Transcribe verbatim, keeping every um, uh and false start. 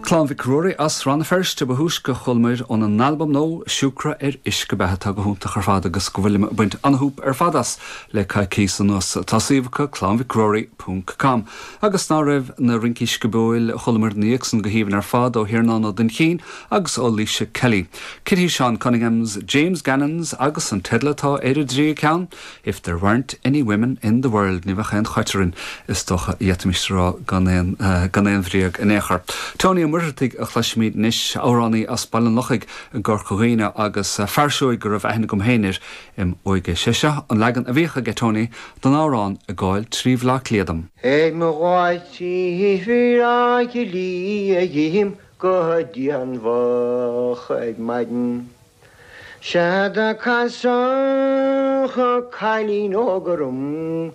Clann Mhic Ruairí as Rann na Feirste ba thúisce a chualamar óna n-albam nua Siúcra ar Uisce Beatha atá go hiontach ar fad agus go bhfuilim ag baint an-súp ar fad as le coicís anuas tá suíomh acu clannmhicruairí.com agus ná raibh na rincí sciobóil chualamar níocsan go haoibhinn ar fad ó Thiarnán Ó Duinnchinn agus ó Lisa Kelly. Kitty Sean Cunninghams, James Gannons agus an teideal atá ar an dtríú ceann, If there weren't any women in the world ní bheadh aon chaiterin is dócha d'fhéadfaimis rá gan aon uh, gan aon bhréag in aon chor. Tony Muircheartaigh a chloisfimid anois amhránaí as Baile an Lochaigh i gCorca Dhuibhne agus fear seoigh go raibh aithne agam féin air im óige sé seo an leagan a bhíodh aige Tony don amhrán ag gabháil trí Bhleá Cliath dom. Ag mo ghabháil trí Bhleá go dtí an mhoch ag maidin. Sea do casadh cailín óg orm